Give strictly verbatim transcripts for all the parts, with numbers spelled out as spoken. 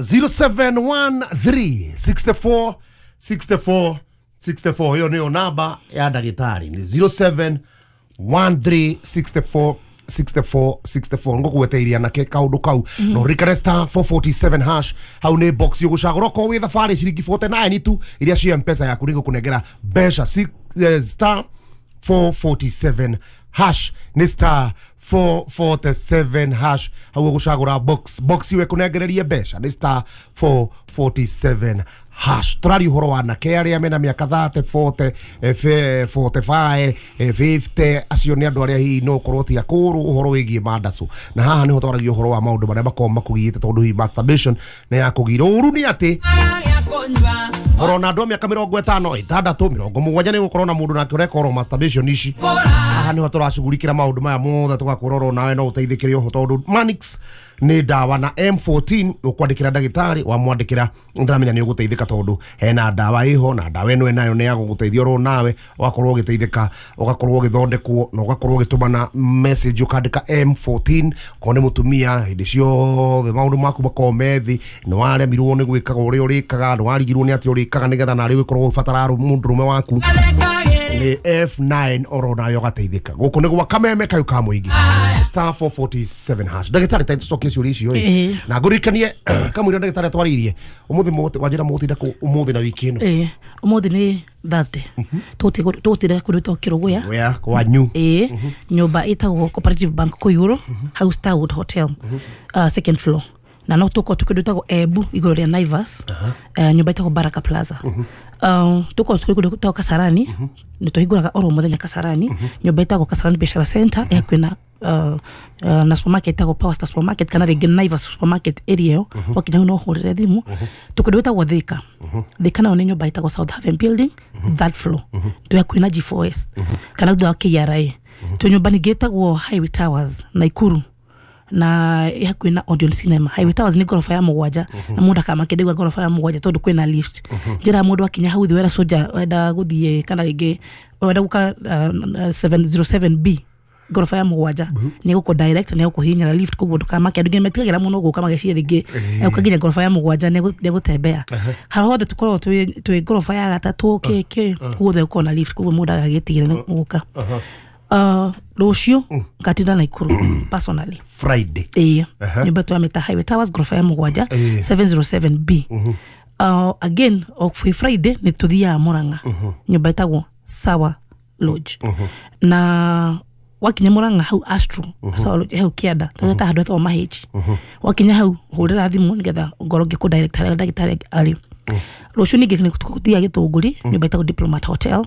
zero seven one three sixty-four sixty-four sixty-four hiyo niyo namba ya ndagĩtarĩ ni zero seven one three sixty-four sixty-four sixty-four ngũgweteiria nake kaũndũ kau no rikare star four forty-seven hash hau nĩ box yũgũcagũra okorwo wĩ thabarĩ ciringi forty-nine tu iria cia mpesa yaku nĩgũkũnengera mbeca star four forty-seven hash ni star four forty-seven hash hau ũgũcagũra box box iwe kũnengererie mbeca ni star four forty-seven hash tũraria ũhoro wa anake arĩa mena mĩaka thirty forty forty-five fifty acio nĩ andũ arĩa hihi no ũkorwo ti akũrũ ũhoro wĩgiĩ mandacũ na haha nĩho twaragia ũhoro wa maũndũ marĩa makoragwo makũgiĩte tondũ hihi masturbation nĩ yakũgira ũru nĩ atĩ orona andũ a mĩaka mĩrongo ĩtano ĩtandatũ mĩrongo mũgwanja nĩ gũkorwo na mũndũ nake ũreka oro masturbation ici haha nĩho tũracugurikĩra maũndũ maya mothe tũgakwĩra oro nawe no ũteithĩkĩre oho tondũ Manix nĩ ndawa na M fourteen ũkwandĩkĩra ndagĩtarĩ wamwandĩkĩra ndĩramenya nĩ ũgũteithĩka tondũ hena ndawa ĩho na ndawa ĩno ĩnayo nĩ ya gũgũteithia oro nawe ũgakorwo ũgĩteithĩka ũgakorwo ũgĩthondekwo na ũgakorwo ũgĩtũmana message ũkandĩka M fourteen korwo nĩ mũtumia hĩndĩ ciothe maũndũ maku makorwo me thĩ nĩ waremirwo nĩ gwĩkaga ũrĩa ũrĩkaga nĩ warigirwo nĩ atĩ ũrĩkaga nĩgetha narĩ ũgĩkorwo ũgĩbatara mũndũrũme waku nĩ F nine oro nayo ũgateithĩka gũkũ nĩ gwa kameme kayũ ka mũingĩ star four forty-seven hash ndagĩtarĩ ta tũcokie ciũria icio ĩ na ngũririkanie kamũira ndagĩtarĩ atwarĩirie ũmũthĩ wanjĩra mũgũtinda kũ ũmũthĩ na wiki ĩno ĩ ũmũthĩ nĩ Thursday tũgũtinda kũndũ gwĩtagwo Kĩrũgũya kwanyu ĩ nyũmba ĩtagwo Cooperative Bank kũu igũrũ hau Starwood Hotel second floor na no tũkorwo twĩ kũndũ gwĩtagwo Embu igũrũ rĩa Naivas nyũmba ĩtagwo Baraka Plaza tũkorwo twĩ kũndũ gwĩtagwo Kasarani nĩ tũhingũraga oro mũthenya Kasarani nyũmba ĩtagwo Kasarani Biashara Center ĩ hakuhĩ na Uh, uh, na supermarket ĩtagwo Power Star Supermarket kana rĩngĩ Naivas Supermarket area ĩyo wakinya hau no ũhũrĩre thimũ twĩ kũndũ gwĩtagwo Thika Thika nayo nĩ nyũmba ĩtagwo South Haven Building third floor twĩ hakuhĩ na G four S kana thutha wa K R A twĩ nyũmba ningĩ ĩtagwo Highway Towers Naikuru na ĩ hakuhĩ na Odeon Cinema Highway Towers nĩ ngoroba ya mũgwanja na mũndũ akamake ndauga ngoroba ya mũgwanja tondũ kwĩna lift njĩra mũndũ akinya hau thĩ wera soja wenda gũthiĩ kana rĩngĩ wenda gũka seven zero seven B ngoroba ya mũgwanja nĩ gũkũ direct nĩ gũkũhihinyĩra lift koguo ndũkamake andũ nginya metigagĩra mũno gũka mageciria rĩngĩ ũka nginya ngoroba ya mũgwanja nĩ gũtembea harĩa hothe tũkoragwo twĩ ngoroba ya gatatũ kĩ kĩ guothe gũkoragwo na lift koguo mũndũ agagĩtigĩra nĩ gũka rũciũ ngatinda Naikuru personally Friday ĩĩ nyũmba twamĩta Highway Towers ngoroba ya mũgwanja seven zero seven B again o Friday nĩ tũthiaga Murang'a nyũmba ĩtagwo Sawa Lodge na wakinya Murang'a hau Astro Sawa Lodge hau kĩanda tũgeta handũ hetagwo Mahĩnji wakinya hau hũrĩra thimũ nĩgetha ngorwo ngĩkũ direct harĩa ndagĩtarĩ arĩ rũciũ ningĩ nĩ tũthiaga Gĩthũngũri nyũmba ĩtagwo Diplomat Hotel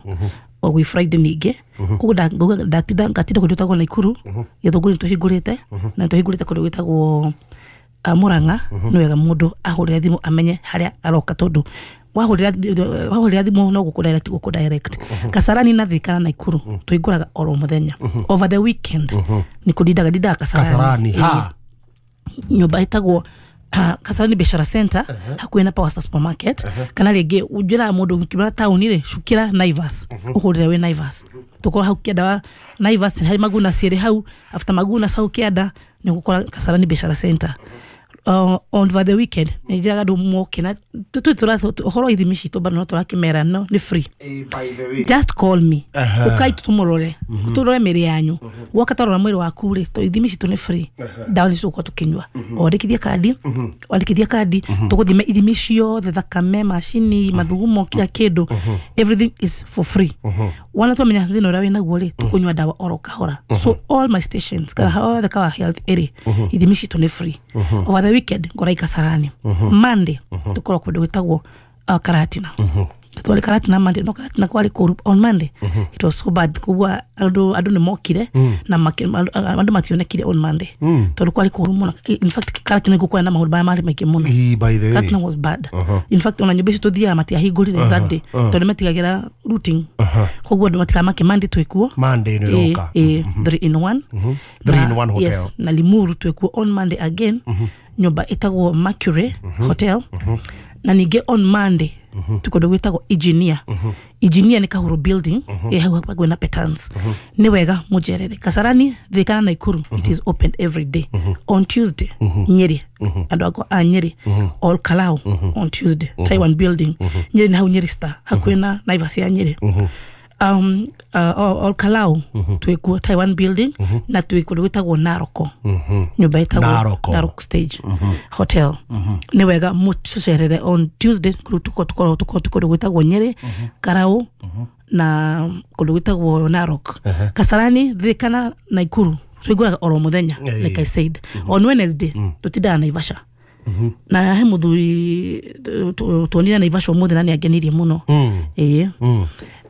o gwĩ Friday ningĩ koguo ndatinda ngatinda kũndũ gwĩtagwo Naikuru Gĩthũngũri nĩ tũhingũrĩte na tũhingũrĩte kũndũ gwĩtagwo Murang'a nĩ wega mũndũ ahũrĩre thimũ amenye harĩa aroka tondũ wahũrĩra thimũ no gũkũ direct gũkũ direct Kasarani na Thika na Naikuru tũhingũraga oro mũthenya over the weekend nĩ kũndindaga ndindaga Kasarani ha nyũmba ĩtagwo Kasarani Biashara Center hakuhĩ na Power Star Supermarket kana rĩngĩ ũnjĩraga mũndũ ũkiuma taũni rĩ cukĩra Naivas ũhũrĩre wĩ Naivas tũkorwo hau kĩanda wa Naivas harĩ Maguna cierĩ hau after Maguna hau kĩanda nĩ ũgũkora Kasarani Biashara Center uh, on the weekend nĩ njĩraga andũ moke na ũhoro wa ithimi citũ bado no tũrakĩmera no nĩ free just call me ũkai tũmũrore tũrore mĩrĩ yanyu woka twarora mwĩrĩ waku rĩ to ithimi citũ nĩ free ndawa nĩ tũgũkorwo tũkĩnyua wandĩkithia kandi wandĩkithia kandi tũgũthima ithimi ciothe thakame macini mathugumo kila kĩndũ everything is for free wana twamenya thĩna ũrĩa wĩnaguo rĩ tũkũnyua ndawa oro kahora so all my stations kana hothe Kawa Health ĩrĩ ithimi citũ nĩ free over the weekend ngora Kasarani Monday tukorwo kũndũ gwĩtagwo uh, Karatina twari Karatina Monday no Karatina kwari kũru on Monday it was so bad koguo andũ andũ nĩ mokire na andũ mationekire on Monday tondũ kwari kũru mũno in fact Karatina gũkwa na maũndũ maya marĩ maingĩ mũno Karatina was bad in fact ona nyũmba icio tũthiaga matiahingũrire that day tondũ metigagĩra routing koguo andũ matikamake Monday twĩkuo Monday nĩ ĩroka three in one three in one hotel yes na Limuru twĩkuo on Monday again Nyũmba ĩtagwo Mercury Hotel. Na ningĩ on Monday twĩ kũndũ gwĩtagwo Engineer. Engineer nĩ Kahuro building ĩ hau hakuhĩ na Petans. Nĩ wega mũnjerere. Kasarani, Thika na Nakuru, it is open every day. On Tuesday, Nyeri, andũ akwa a Nyeri, Ol Kalou on Tuesday, Taiwan building. Nyeri nĩ hau Nyeri Star, hakuhĩ na Naivas ya Nyeri. um, uh, Ol Kalou twĩkuo Taiwan building, na twĩ kũndũ gwĩtagwo Naroko, nyũmba ĩtagwo Naroko. Narok Stage Hotel. Nĩ wega mũtũcerere on Tuesday. Kũrĩa tuko tuko tuko kũndũ gwĩtagwo Nyeri, Karau na kũndũ gwĩtagwo Narok. Kasarani, Thika na Nakuru tũhingũraga oro mũthenya. Eh. Like I said, on Wednesday tũtindaga Naivasha, na he mũthuri tu- tuonire Naivasha ũmũthĩ na nĩ angenirie mũno. Ĩĩ.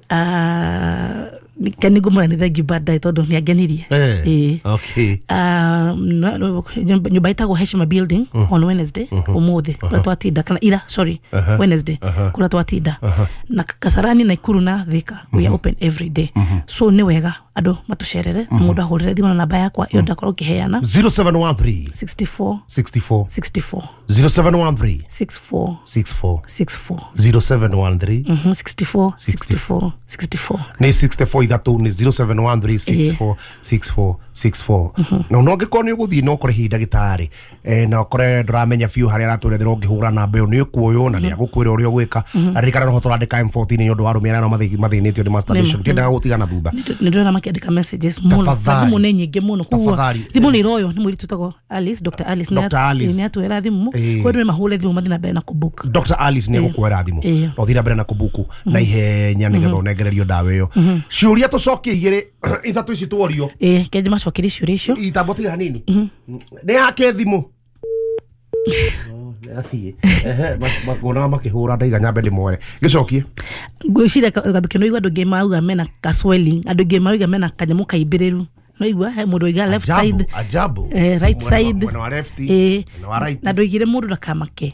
Ah, ke nĩ ngũmwĩra nĩ thengiũ baadaye tondũ nĩ angenirie. Eh, Ĩĩ. okay. Um, no- no- nyũmba nyũmba ĩtagwo Heshima building on Wednesday, ũmũthĩ kũrĩa twatinda, kana ira, sorry, Wednesday kũrĩa twatinda. Na Kasarani, Nakuru na Thika we are open every day, so nĩ wega andũ matũcerere na mũndũ ahũrĩre thimũ na namba yakwa ĩyo ndakorwo ngĩheana. zero seven one three sixty-four sixty-four sixty-four. zero seven one three sixty-four sixty-four sixty-four. zero seven one three Mhm, sixty-four sixty-four sixty-four. Nä sixty-four ithatå nä zero seven one three six four six four six four. Na no ngä korwo nä å gå thiä na å kore hihi ndagätarä na ũkore ndũramenya biũ harĩa aratwerethera, ũngĩhũra namba ĩyo nĩ ũkuoywo na nĩ agũkwĩra ũrĩa ũgwĩka. Ririkana no tũrandĩka M fourteen nĩ ũndũ wa arũme arĩa no mathĩnĩtio nĩ masturbation, ndiendaga gũtigana thutha. Nä ndĩrona makĩandĩka messages mũno na Tafadhali. Thimũ nĩ nyingĩ mũno koguo Tafadhali. Thimũ nĩ iroywo nĩ mũirĩtu wĩtagwo Alice, Doctor Alice. Doctor Alice. Nĩ atwĩra thimũ. Ĩĩ. Koguo andũ nĩ mahũre thimũ mathiĩ na mbere na kũbook. Doctor Alice nä egåkuoera thimå Ĩĩ. na ũthiĩ na mbere na kũbuku na ihenya nä getha ũnengererio ndawa ĩyo. Ciũria tũcokie igĩrĩ ithatũ ici tuorio. Ĩĩ, kenje macokerie ciũria icio. Itambo tiga hanini nä yake thimå athiĩ makuonaga makĩhũra ndaiga nyambe ndĩmwere gĩcokie. Ngwĩciria gathukĩ no igua andũ aingĩ mauga mena ka swelling, andũ aingĩ marauga mena kanyamũ kaimbĩrĩru, no igua he mũndũ oiga left Ajabu, side, ajabu. eh, right Mwena wa- side. Mwena wa left, eh, mwena wa right. Na ndoigire mũndũ ndakamake,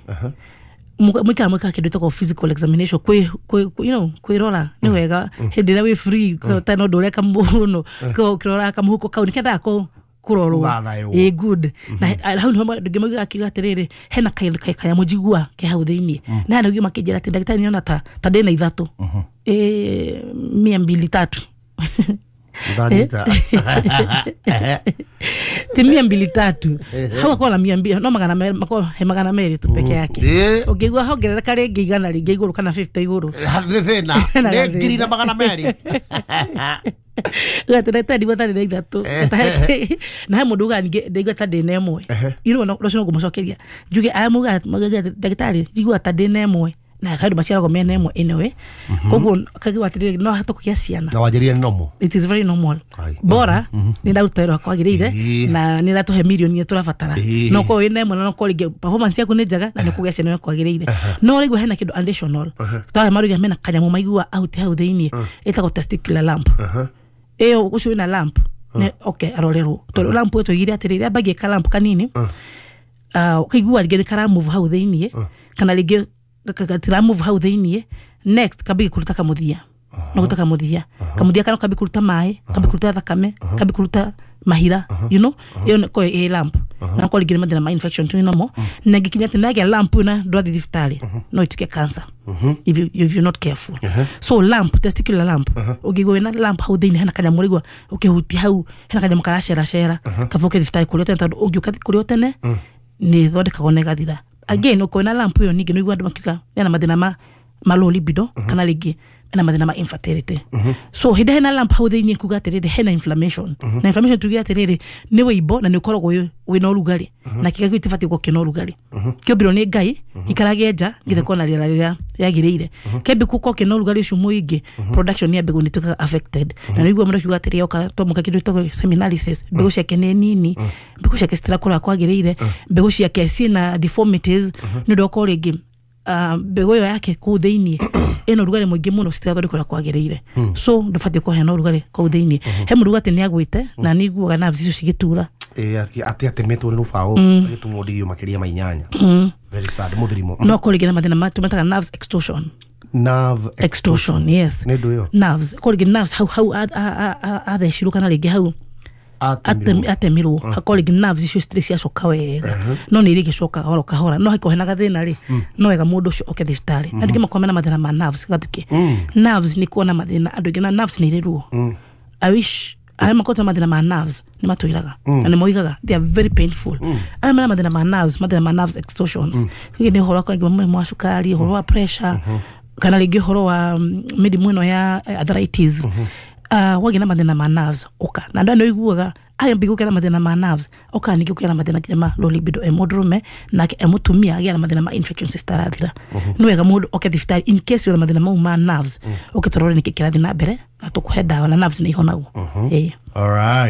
mwikaga mwikaga kĩndũ ĩtagwo physical examination, kwĩ kwĩ you know kwĩrora nĩ wega hĩndĩ ĩrĩa wĩ free ta no ndũreka mũno ũkĩrora kamũhuko kau nĩ kendaga kũ kũrorwo. Gũthathaywo. Ĩ good, na he- hau nĩho andũ aingĩ maugaga akiuga atĩrĩrĩ, hena kaĩndũ ka- kanyamũ njigua ke hau thĩiniĩ, na hena ũngĩ makĩnjĩra atĩ ndagĩtarĩ nĩona ta ta ndĩna ithatũ, ĩ mia mbili tatu. Ndanyita. Ti mia mbili tatu, hau akorwo na mia mbili no magana merĩ, makorwo he magana merĩ tu peke yake. Ĩ. Ũngĩigua hongerereka rĩngĩ igana rĩngĩ igũrũ kana fifty igũrũ, nä thä na Hena nä ngiri gathĩna. Na magana merä. Gatĩ ndigua tarĩ na ithatũ na he mũndũ ugaga ningĩ ndaigua ta ndĩ na ĩmwe. You know, rũcio no ngũmũcokeria njuge aya mugaga ndagĩtarĩ njigua ta ndĩ na ĩmwe, na andũ maciaragwo mena ĩmwe anyway, koguo kaigua atĩrĩrĩ no ahote kũgĩa ciana. Na wanjĩrire nĩ nomo. It is very normal. Ai. Bora nĩ ndaruta wĩra wakwa wagĩrĩire Ĩĩ. na nĩ ratũhe mirioni iria tũrabatara. Ĩĩ. No korwo wĩna ĩmwe na no korwo rĩngĩ performance yaku nĩ njega na nĩ kũgĩa ciana ũrĩa kwagĩrĩire, no rĩu hena kĩndũ additional twahe maruga mena kanyamũ maigua out hau thĩiniĩ ĩtagwo testicular lump. Ĩyo ũcio wĩna lump nĩ okay arorerwo, tondũ lump ĩyo tũigire atĩrĩrĩ ambagie ka lump kanini, ah, ũkaigua rĩngĩ nĩ karamove hau thĩiniĩ kana rĩngĩ gatiramove hau thĩiniĩ, next kambie kũruta kamũthia, no gũta kamũthia kamũthia kana kambie kũruta maĩ, kambie kũruta thakame, kambie kũruta mahira, you know ĩyo nĩ ko ĩ lump, na ko rĩngĩ nĩ mathĩna ma infection tu namo, na ngĩkinya atĩ nagĩa lump na ndwathiĩ thibitarĩ no ituĩke cancer if you, if you're not careful. So lump, testicular lump, ũngĩigua wĩna lump hau thĩinĩ, hena kanyamũ ũraigua ũkĩhutia hau hena kanyamũ karaceracera, kaba ũke thibitarĩ kũrĩa tene, tondũ ũngĩũka kũrĩa tene nĩ ĩthondekagwo na ĩgathira. Again, ũkorwo na lump ĩyo ningĩ nĩũigua andũ makiuga ena mathĩna ma ma low libido kana rĩngĩ ena mathĩna ma infertility. So hĩndĩ hena lump hau thĩinĩ kuga atĩrĩrĩ hena inflammation, na inflammation tuge atĩrĩrĩ nĩ wĩimbo na nĩ ũkoragwo wĩ- wĩna ũrugarĩ, na kĩga kĩu gĩtibatiĩ gũkorwo kĩna ũrugarĩ, kĩombirwo nĩ Ngai ikarage nja nginya kona rĩera rĩrĩa rĩagĩrĩire, kĩambi gũkorwo kĩna ũrugarĩ ũcio mũingĩ, production ya mbegũ nĩ ĩtuĩkaga affected, na nĩguo mũndũ akiuga atĩrĩ oka twamũka kĩndũ gĩtagwo semen analysis, mbegũ ciake nĩ nini, mbegũ ciake citirakũra kwagĩrĩire, mbegũ ciake ciĩna deformities, nĩ ũndũ okorwo rĩngĩ ah, mbegũ ĩyo yake kũu thĩiniĩ ĩna ũrugarĩ mũingĩ mũno, citirathondekwo ũrĩa kwagĩrĩire, so ndũbatiĩ kũhe na ũrugarĩ kũu thĩiniĩ. He mũndũ uga atĩ nĩ agwĩte na nĩ iguaga nerves icio cigĩtura. Atä atemetwo nä rå baå agätumwo ndigio makä ria ma inyanya. Very sad mũthirimo. No korwo rĩngĩ na mathĩna ma tũmetaga nerves extortion. Nerve Extortion, yes. Nĩ ndũ ĩyo? Nerves, korwo rĩngĩ nerves hau hau a- a- a- a- athecirwo kana rĩngĩ hau Atemirwo. Atem- atemirwo hakorwo rĩngĩ nerves icio citirĩ ciacoka wega, no nĩ irĩgĩcoka oro kahora, no hakorwo hena gathĩna rĩ, no wega mũndũ ũcio oke thibitarĩ. Andũ aingĩ makorwo mena mathĩna ma nerves gathuke. Nerves nĩ kuona mathĩna andũ aingĩ na nerves nĩ irĩ ruo. I wish arĩa makoretwo na mathĩna ma nerves nĩ matwĩraga na nĩ moigaga they are very painful. Arĩa mena mathĩna ma nerves, mathĩna ma nerves extortions, rĩngĩ nĩ ũhoro wa kũngĩ mũrimũ wa cukari, ũhoro wa pressure, kana rĩngĩ ũhoro wa mm, mĩrimũ ĩno ya eh, arthritis, uh, wagĩa na mathĩna ma nerves ũka na andũ aya nĩ ũiguaga ayambia gũkĩa na mathĩna ma nerves oka ningĩ gũkĩa na mathĩna nginya ma low libido e mũndũrũme nake e mũtumia agĩa na mathĩna ma infections citarathira. Nĩ wega mũndũ oke thibitarĩ in case wĩna mathĩna mau ma nerves, ũke tũrore nĩkĩ kĩrathiĩ na mbere na tũkũhe ndawa, na nerves nĩ ihonagwo. Ĩĩ. All right.